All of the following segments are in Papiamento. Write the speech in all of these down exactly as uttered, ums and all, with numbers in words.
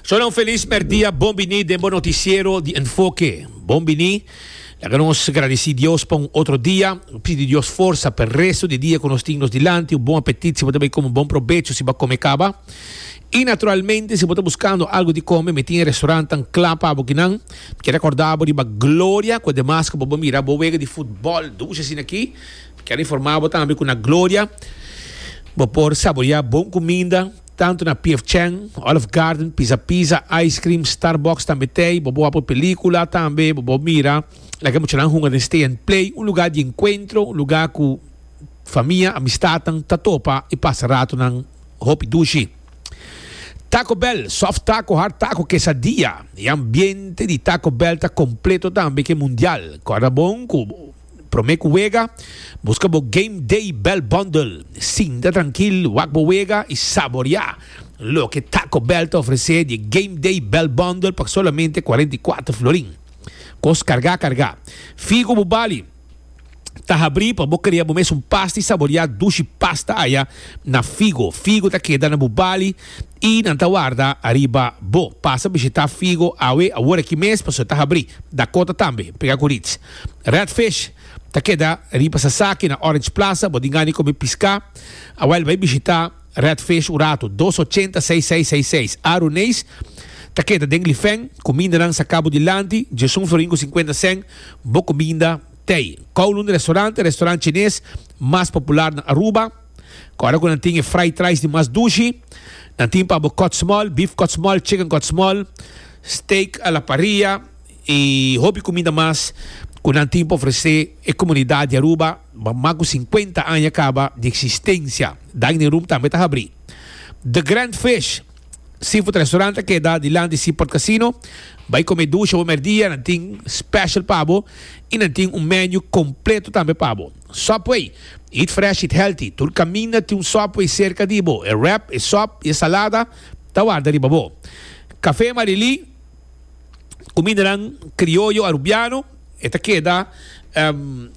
Solo un felis merdia, bon bini den bo noticiero di Enfoke. Bon bini. Laga nos gradici Dios pa un otro dia. Pidi Dios forsa pa e resto di dia cu nos tin nos dilanti. Un bon apetit si bo ta bay come, un bon probecho si bo a come caba. Y naturalmente si bo ta buscando algo di come, mi tin e restaurantnan cla pa bo kinan. Mi kier recorda bo riba Gloria, cu ademas cu bo por mira bo wega di futbol dushi asina aki. Mi kier informa bo tambe cu na Gloria bo por saborea bon cuminda, tanto na P F Chang, Olive Garden, Pizza Pizza, Ice Cream, Starbucks tambe tey. Bo por wak por pelicula tambe, bo por mira laga muchanan hunga den Stay and Play, un lugar di encuentro, un lugar cu famia, amistadnan ta topa y pasa ratonan hopi dushi. Taco Bell, soft taco, hard taco, quesadilla. E ambiente di Taco Bell ta completo tambe ke mundial. Corda bon cu prome cu wega, busca bo Game Day Bell Bundle. Sinta trankil, wak bo wega y saborea loke Taco Bell ta ofrece di Game Day Bell Bundle pa solamente cuarenta y cuatro florin. Cos carga carga. Figo Bubali ta habri pa bo crea bo mes un pasta y saborea dushi pasta aya na Figo. Figo ta keda na Bubali y nan ta warda ariba bo. Pasa bishita Figo awe awor aki mes pasobra ta habri. Dakota tambe, pega cu Ritz. Red Fish ta keda riba Sasaki na Orange Plaza. Bo tin gana di come pisca? Awel bay bishita Red Fish un rato. Dos ochenta seis seis seis seis. Aruneis ta keda den Lifen. Cumindanan sa cabo dilanti. Djesun florin cu cincuenta cent. Bo cuminda tei. Kowloon Restaurant, restaurant chines mas popular na Aruba. Ora cu nan tin e fried rice di mas dushi. Nan tin pa bo cut small, beef cut small, chicken cut small, steak a la parrilla y hopi cuminda mas cu nan tin pa ofrece e comunidad di Aruba. Mas cu cincuenta aña caba di existencia. Dining room tambe ta habri. The Grand Fish Seafood Restaurant ta keda dilanti Seaport Casino. Bai come dushi bo merdia, nan tin special pa bo y nan tin un menu completo tambe pa bo. Subway, eat fresh, eat healthy. Tur caminda tin un Subway cerca di bo. E wrap, e sop y e salada ta warda riba bo. Café Marily, cumindanan crioyo arubiano, e ta keda, um,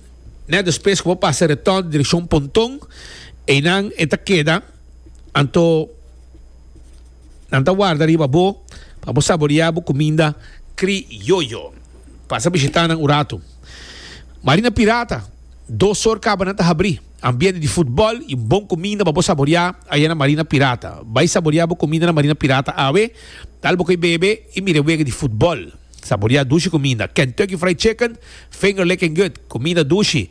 net despues cu bo pasa reton direccion Ponton, einan e ta keda, anto nan ta warda riba bo pa bo saborea bo cuminda crioyo. Pasa bishita nan un rato. Marina Pirata, dos or caba nan ta habri. Ambiente di futbol y bon cuminda pa bo saborea aya na Marina Pirata. Bay saborea bo cuminda na Marina Pirata awe, tal bo koy bebe y mira wega di futbol. Saborea dushi cuminda. Kentucky Fried Chicken, finger licking good. Cuminda dushi.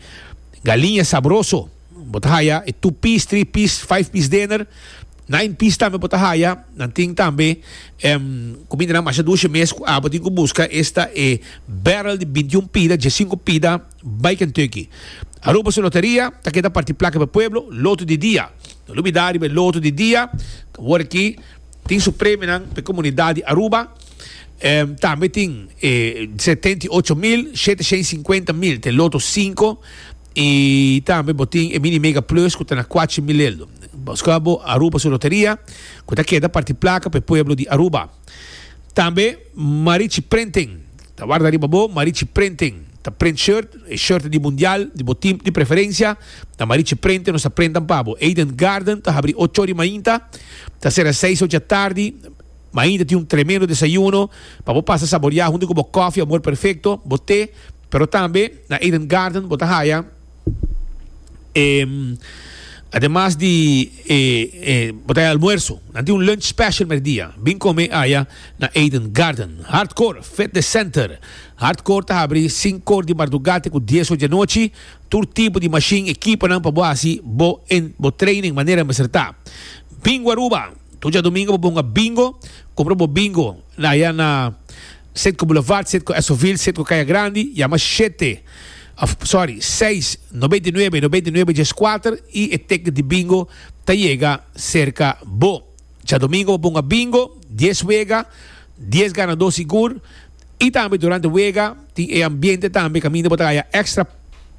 Galiña sabroso. Bo ta haya e two piece, three piece, five piece dinner. Nine piece tambe bo ta haya. Nan tin tambe, em, cuminda nan masha dushi mes cu abo tin cu busca esta e barrel di bintiun pida, diescinco pida, bay Kentucky. Aruba su loteria ta keda parti placa pa pueblo, loto di dia. No lubida riba e loto di dia, awor aki tin su premionan pa e comunidad di Aruba. Em, tambe tin e setenta i ocho mil, shete shen cincuenta mil, te loto cinco. Y tambe bo tin e mini mega plus cu ta na cuachi mil eldo. Busca bo Aruba su loteria cu ta keda parti placa pa e pueblo di Aruba. Tambe Marichi Printing ta warda riba bo. Marichi Printing ta print shirt, e shirt di mundial di bo team di preferencia. Na Marichi Printing nos ta printan pa bo. Eden Garden ta habri ocho ori mainta, ta cera seis ocho tardi. Mainta tin un tremendo desayuno pa bo pasa saborea hunto cu bo koffie Amor Perfecto, bo te. Pero tambe na Eden Garden bo ta haya, em, ademas di, eh, eh, bo ta haya almuerzo. Nan tin un lunch special merdia. Bin come aya na Eden Garden. Hardcore Fitness Center. Hardcore ta habri cinco or di mardugate cu dies or di anochi. Tur tipo di machine, equiponan pa bo haci bo en, bo training manera mester ta. Bingo Aruba. Tur djadomingo bo bonga bingo. Compra bo bingo na aya na Citgo Boulevard, Citgo Essoville, Citgo Caya Grandi, yama shete, of sorry, seis, noventa i nuebe, noventa i nuebe, dies kuater y e ticket di bingo ta yega cerca bo. Djadomingo bo ponga bingo, dies wega, dies ganador sigur y tambe durante wega tin e ambiente tambe caminda bo ta haya extra,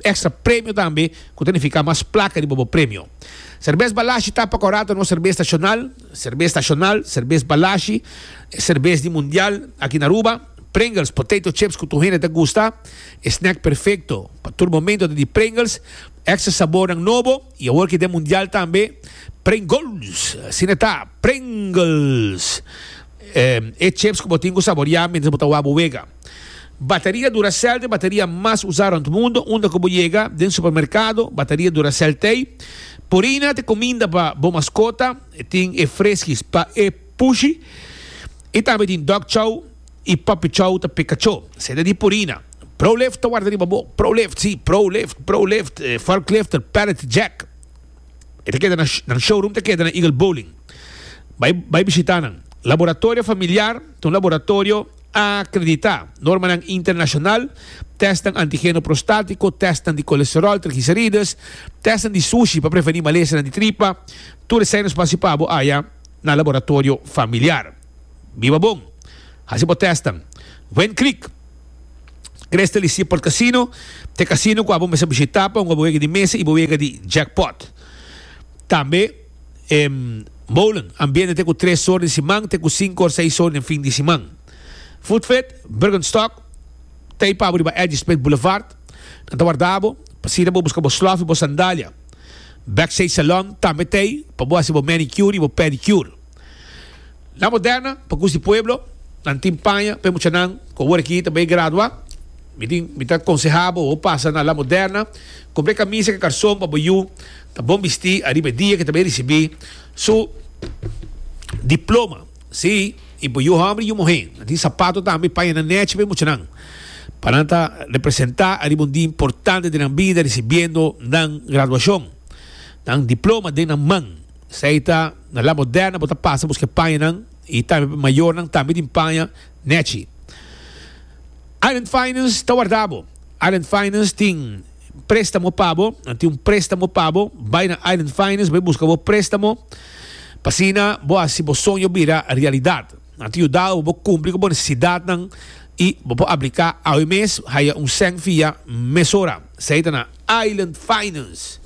extra premio tambe cu ta nifica mas placa riba bo premio. Cerbes Balashi ta pa corato nos cerbes nacional, cerbes nacional, cerbes Balashi, cerbes di mundial aki na Aruba. Pringles, potato chips cu tur hende ta gusta, e snack perfecto pa tur momento ta di Pringles, extra sabornan nobo y awor ki den mundial tambe Pringles, asina ta, Pringles. E chips ku bo tin ku saboriá mientras bo ta wak bo wega. Bateria Duracell ta e bateria mas usá rònt mundu. Unda ku bo yega den supermerkado, bateria Duracell t'ei. Purina ta e kuminda pa bo maskota. E tin e Friskies pa e pushi. I tambe tin Dog Chow i Puppy Chow ta p'e kachó. Esei ta di Purina. Prolift ta warda riba bo. Prolift, sí, Prolift, Prolift, forklifter, pallet jack. E ta keda na, nan showroom ta keda na Eagle Bowling. Bai, bai bishita nan. Laboratorio Familiar ta un laboratorio akreditá. Normanan internashonal, tèstnan antigeno prostátiko, tèstnan di kolesteròl, trigliserides, tèstnan di sushi pa prevení malesanan di tripa, tur esei nos por hasi pa bo aya na Laboratorio Familiar. Biba bon! Hasi bo tèstnan. Wind Creek, Crystal i Seaport Casino ta e kasino ku abo mester bishitá pa hunga bo wega di mesa i bo wega di jackpot. Tambe e molen, ambiente te ku tres or den siman te ku sinku or seis or den fin di siman. Foodfit, Birkenstock, ta ei pa bo riba Eddie Smith Boulevard. Nan ta warda bo pa asina bo buska bo slof i bo sandalia. Backstage Salon tambe ta ei pa bo hasi bo manicure i bo pedicure. La Moderna, pa kus di pueblo, nan tin paña pa e muchanan ku awor aki ta bai gradua. Mi tin, mi ta konsehá bo, bo pasa na La Moderna, kumpra e kamisa ku e karson pa bo yu ta bon bistí ariba e dia ku e ta bai risibí su diploma. Sí, i bo yu hòmber i yu muhé. Nan tin sapato tambe, pañanan nèchi pa e muchanan, pa nan ta representá ariba un dia importante den nan bida risibiendo nan graduashon, nan diploma den nan man. Esei ta na La Moderna bo ta pasa buska e pañanan i tambe pa mayornan tambe tin paña nèchi. Island Finance ta warda bo. Island Finance tin préstamo pa bo. Nan tin un préstamo pa bo. Bai na Island Finance bai buska bo préstamo pa asina bo hasi bo soño bira realidat. Nan ta yuda bo bo kumpli ku bo nesesidatnan i bo por apliká awe mes haya un sèn fia mesora. Esei ta na Island Finance.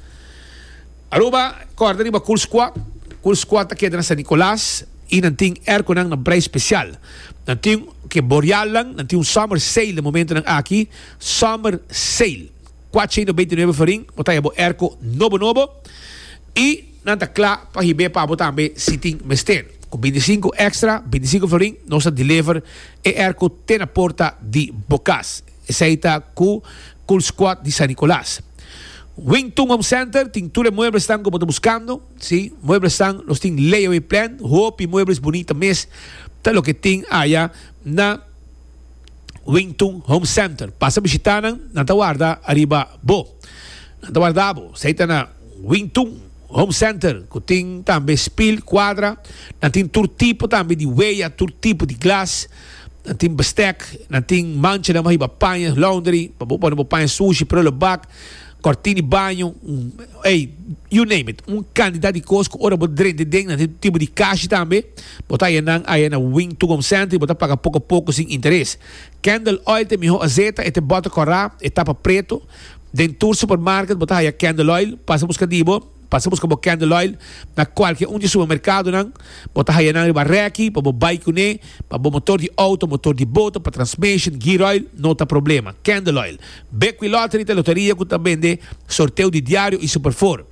Aruba, Kòrda riba Cool Squad. Cool Squad ta keda na San Nicolas i nan tin airconan na prijs spesial. Nan tin ke borealnan, nan tin un summer sale den momentonan aki, summer sale. Kuatsha i nobenta i nuebe florin bo ta haya bo airco nobo nobo i nan ta kla pa hib'é pa bo tambe si tin mester. Ku binti sinku extra, binti sinku florin, nos ta deliver e airco te na porta di bo kas. Esei ta ku Cool Squad di San Nicolas. Wing Tun Home Center tin tur e mueblesnan ku bo ta buskando. Sí, mueblesnan, nos tin layaway plan, hopi muebles bunita mes ta loke tin aya na Wing Tun Home Center. Pasa bishita nan, nan ta warda ariba bo. Nan ta warda bo. Esei ta na Wing Tun Home Center ku tin tambe spil, kuadra, nan tin tur tipo tambe di weya, tur tipo di glas. Nan tin bestek, nan tin manchanan pa hiba paña, laundry, pa bo pone bo paña sushi, prullenbak, kortin di baño, ey, you name it. Un kantidat di kos ku ora bo drenta den, nan tin tipo di kashi tambe, bo ta haya nan aya na Wing Tugom Center i bo ta paga poko poko sin interes. Candle oil ta e miho azeta, e ta e bòter kòrá, e tapa preto. Den tur supermarket bo ta haya candle oil, pasa buska di bo. Pasa buska bo candle oil na kualke un di e supermerkadonan. Bo ta haya nan riba rèki pa bo bai kuné, pa bo motor di outo, motor di boto, pa transmission, gear oil, no ta problema. Candle oil. Bekwee Lottery ta e loteria ku ta bende sorteo di diario i super four.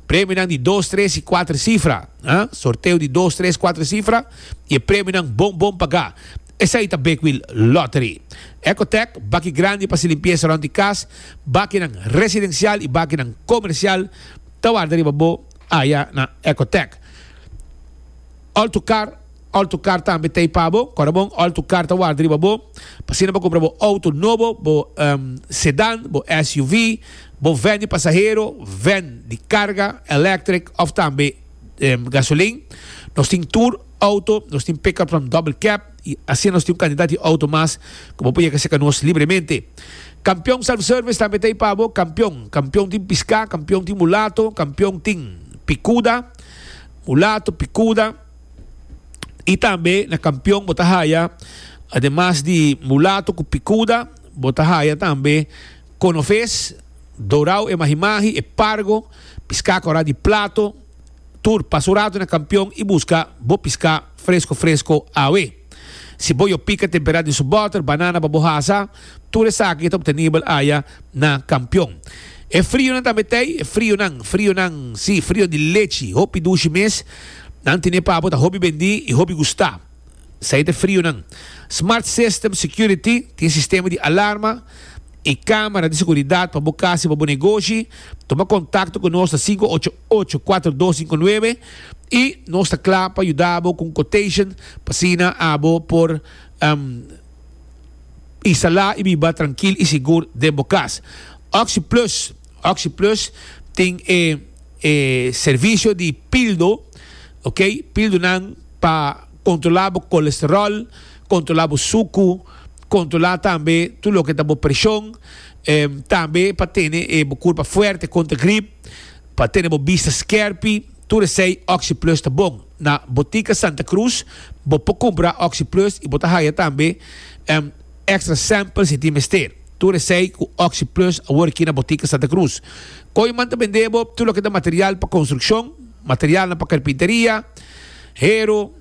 Premionan di dos, tres i kuater sifra. Ha? Sorteo di dos, tres, kuater sifra i e premionan bon bon pagá. Esei ta Bekwee Lottery. Ecotec, baki grandi pa hasi limpiesa rònt di kas, bakinan residensial i bakinan komersial. Ta warda riba bo aya na Ecotec. Alto Car, Alto Car tambe ta ei pa bo. Kòrda bon, Alto Car ta warda riba bo pa asina bo kumpra bo outo nobo, bo sedan, bo S U V, bo van di pasahero, van di karga, electric òf tambe gasolin. Nos tin tur outo, nos tin pickup from double cab i asina nos tin un kantidat di outo mas ku bo por yega serka nos libremente. Kampion Self Service tambe ta ei pa bo. Kampion, kampion tin piská, kampion tin mulato, kampion tin pikuda, mulato, pikuda. I tambe na kampion bo ta haya, ademas di mulato ku pikuda, bo ta haya tambe konofes, dorau e mahimahi, e pargo, piská kòrá di plato. Tur, pasa un rato na Kampion i buska bo piská fresko fresko awe. Si bo yo pika temperá den su bòter, banana pa bo hasa, tur esaki ta obtenibel aya na Kampion. E frionan tambe t'ei, e frionan, frionan, si, frio di lechi, hopi dushi mes, nan tene pa bo, ta hopi bendí i hopi gustá. Esey ta frionan. Smart System Security tin sistema di alarma y camera di seguridad pa bo cas y pa bo negoshi. Tuma contacto cu nos na sinku ocho ocho kuater dos sinku nuebe y nos ta cla pa yuda bo cu un quotation pa asina abo por instala y biba trankil y sigur den bo cas. OxyPlus, OxyPlus tin e e servicio di pildo, ok, pildonan pa controla bo colesterol, controla bo sucu, controla tambe tur loke ta bo presion, tambe pa tene e bo curpa fuerte contra grip, pa tene bo bista skerpi, tur esey OxyPlus ta bon. Na Botica Santa Cruz bo por cumpra OxyPlus y bo ta haya tambe extra sample si tin mester. Tur esey cu OxyPlus awor aki na Botica Santa Cruz. Kooyman ta bende bo tur loke ta material pa construccion, materialnan pa carpinteria, hero,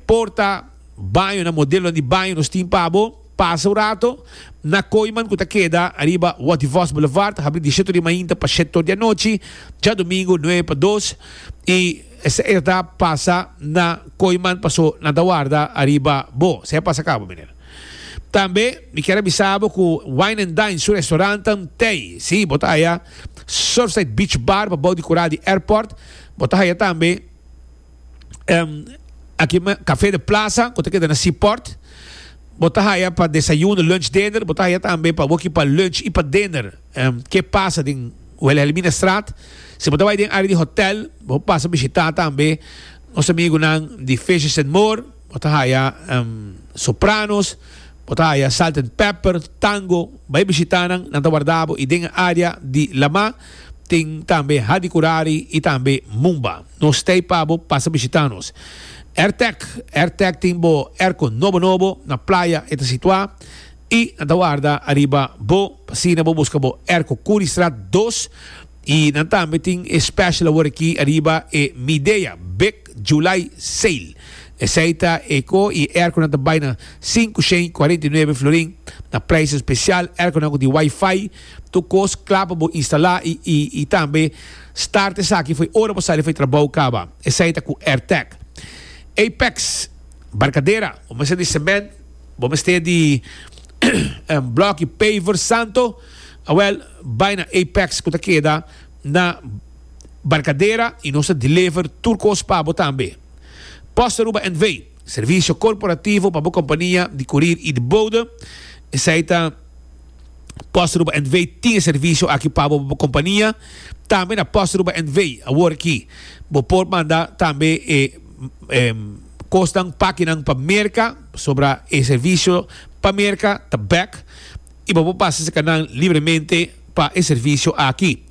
porta, bañonan, modelonan di baño nos tin pa bo. Pasa un rato na Kooyman cu ta keda ariba Watty Vos Boulevard, ta habri di shete di mainta pa shete or di anochi, djadomingo nuebe pa dos, y esey ta pasa na Kooyman paso nan ta warda ariba bo. Esey a pasa cabo, meneer. Tambe mi kier a bisa bo cu Wine and Dine su restaurantan tey. Si, bo ta haya Surfside Beach Bar pa bou di cura di airport. Bo ta haya tambe aki Café de Plaza cu ta keda na Seaport. Bo ta haya pa desayuno, lunch, dinner. Bo ta haya tambe pa woki pa lunch y pa dinner. Ke pasa den Wilhelminastraat. Si bo ta bay den area di hotel, bo pasa bishita tambe nos amigunan di Fishes and More. Bo ta haya Sopranos, bo ta haya Salt and Pepper, Tango. Bai bishita nan, nan ta warda bo. Y den e area di Lama tin tambe Hadi Curari y tambe Mumba. Nos ta ey pa bo, pasa bishita nos. Airtec, Airtec tin bo airco nobo nobo, na playa e ta situa y nan ta warda ariba bo pa asina bo busca bo airco. Curiestraat dos y nan tambe tin e special awor aki ariba e Midea Big July Sale. Esey ta e co y e airco nan ta bay na sinku shen y cuarenta y nuebe florin na prijs especial. Airco nan cu tin wifi, tur cos cla pa bo instala y y tambe start esaki fo'i ora bo sali fo'i trabou caba. Esey ta cu Airtec. Apex, Barcadera, bo mester di cement, bo mester di bloki paver santo, awel bai na Apex cu ta keda na Barcadera y nos ta deliver tur cos pa bo tambe. Post Aruba N V, servicio corporativo pa bo compania di courier y di bode, esey ta Post Aruba N V tin e servicio aki pa bo pa bo compania. Tambe na Post Aruba N V awor aki bo por manda tambe e kosnan pakinan pa Merka, pasobra e servisio pa Merka ta bek i bo por pasa esaki nan libremente pa e servisio aki.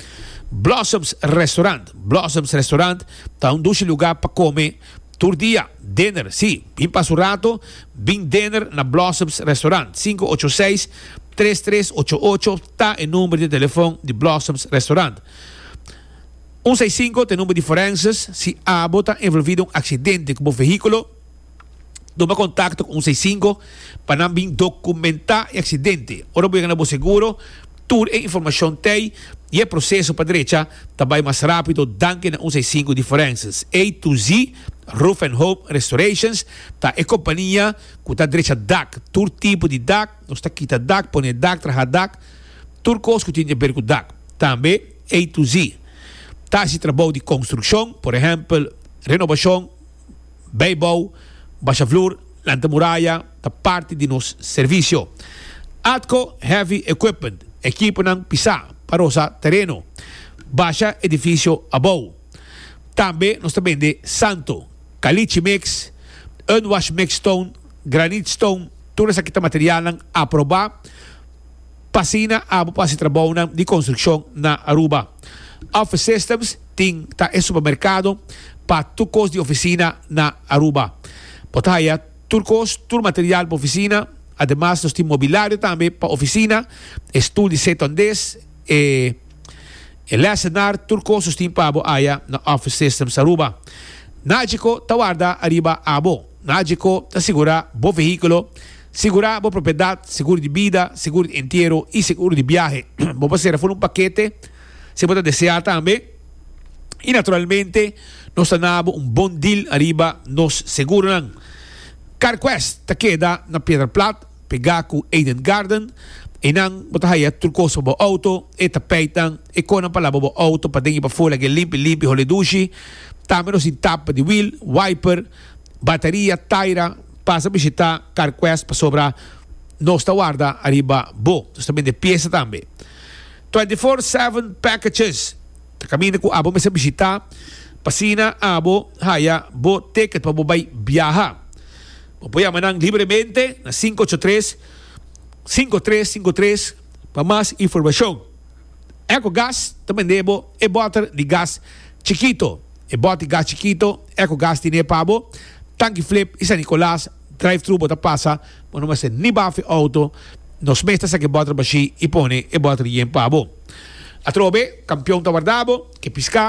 Blossoms Restaurant, Blossoms Restaurant ta un dushi lugá pa kome tur dia, dinner, sí, bin pasa un rato, bin dinner na Blossoms Restaurant. Sinku ocho seis, tres tres ocho ocho ta e number di telefon di Blossoms Restaurant. Un seis sinku ta e number di forenses, si abo ta envolvi den un aksidente ku bo vehíkulo, tuma kontakto ku un seis sinku pa nan bin dokumentá e aksidente. Ora bo yega na bo seguro, tur e informashon t'ei i e proseso pa drecha ta bai mas rápido danki na un seis sinku di forenses. A to Z Roof and Home Restorations ta e kompania ku ta drecha dak, tur tipo di dak, nos ta kita dak, pone dak, traha dak, tur kos ku tin di aber ku dak. Tambe A to Z ta hasi trabou di konstrukshon, por ehèmpel renobashon, bijbou, basha vloer, lanta muraya, ta parti di nos servisio. Atco Heavy Equipment, ekiponan pisá pa rosa tereno, basha edifisio abou. Tambe nos ta bende santo, caliche mix, unwash mix stone, granite stone, tur esaki ta materialnan aprobá pa asina abo por hasi trabounan di konstrukshon na Aruba. Office Systems tin ta e supermerkado pa tur kos di ofisina na Aruba. Bo ta haya tur kos, tur material pa ofisina. Ademas nos tin mobilario tambe pa ofisina, e stul di setondes, e e lesenar, tur kos nos tin pa bo haya na Office Systems Aruba. Nagico ta warda ariba abo. Nagico ta sigura bo vehíkulo, sigura bo propiedat, seguro di bida, seguro di entiero i seguro di biahe. Bo por sera for un pakete si bo ta desea tambe. I naturalmente nos ta na bo un bon deal ariba nos seguronan. CarQuest ta keda na Piedra Plat, pega cu Eden Garden. Einan bo ta haya tur cos pa bo auto, e tapijtnan, e conan pa laba bo auto paden y pafo lag'e limpi limpi hole dushi. Tambe nos tin tapa di wiel, wiper, bateria, taira. Pasa bishita CarQuest pasobra nos ta warda ariba bo. Nos ta bende pieza tambe. Twenty four seven packages ta caminda cu abo mester bishita pa asina abo haya bo ticket pa bo bay biaha. Bo por yama nan libremente na sinku ocho tres, sinku tres sinku tres pa mas informacion. Ecogas ta bende bo e boter di gas chikito. E bot di gas chikito, Ecogas tine pa bo. Tanki Flip y San Nicolas drive thru bo ta pasa, bo no mester ni bafa e auto. Nos mes ta saka e boter bashi y pone e boter yen pa bo. Atrobe, campeon ta warda bo, ke pisca.